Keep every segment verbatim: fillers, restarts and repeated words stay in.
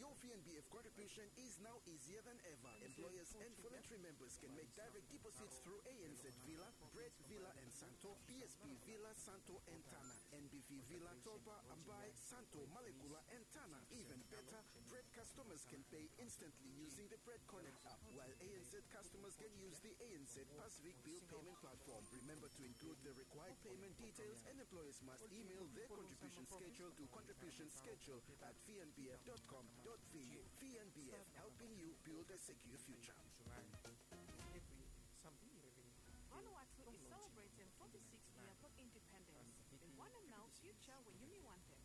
Your V N B F contribution is now easier than ever. Employers and voluntary members can make direct deposits through A N Z Villa, Bread Villa and Santo, B S B Villa, Santo and Tana, N B V Villa, Tolpa, Ambae, Santo, Malekula and Tana. Even better, Bread customers can pay instantly using the Bread Connect app, while A N Z customers can use the A N Z Pacific Bill Payment Platform. Remember to include the required payment details, and employers must email their contribution schedule to contribution schedule at V N B F dot com dot V U. V N B F, helping you build a secure future. Vanuatu is celebrating forty-six year blong independens. Yu wantem nao future we yumi wantem?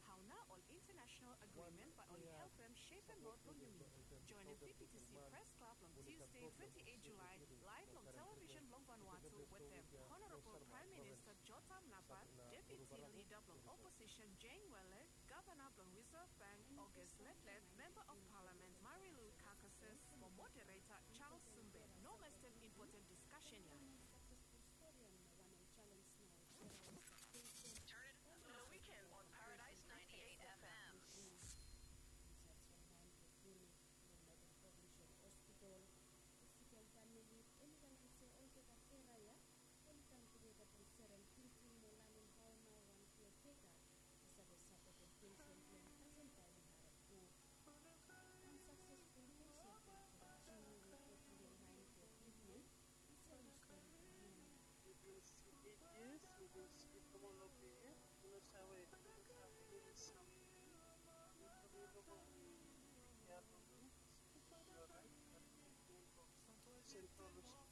Hao nao ol international agreement bae oli helpem shepem rod blong yumi? Joenem P P T C Press Club long Tuesday, twenty-eight July, live long television blong Vanuatu wetem Honorable Prime Minister Jotham Napat, Deputy Leader blong Opposition Jane Wele, Gavana blong Reserve Bank August Letlet, Member of Parliament Marilou Carcasses mo Moderator Charles Sumbe. No mas step impoten diskashen ya. Turn it on the weekend on Paradise ninety-eight F M. Insait long maen blong Puni, long Northern Provincial Hospital, Mexican famili oli balan se olgeta kera ya oli kam tugeta blong serem tingting mo lanem hao nao wan keateka i save sapotem pensen blong kasem taem i harem gud. Wan saksesful kes ya blong Jimmy we go tru long maen blong tritmen. He bin si eight years, he bin si Tomolope ya, he no save, he no save eni samting. Mi toki lo go mi, mi tek kea blong mi, mi si mi orait, bat mi ken go Central Hospital.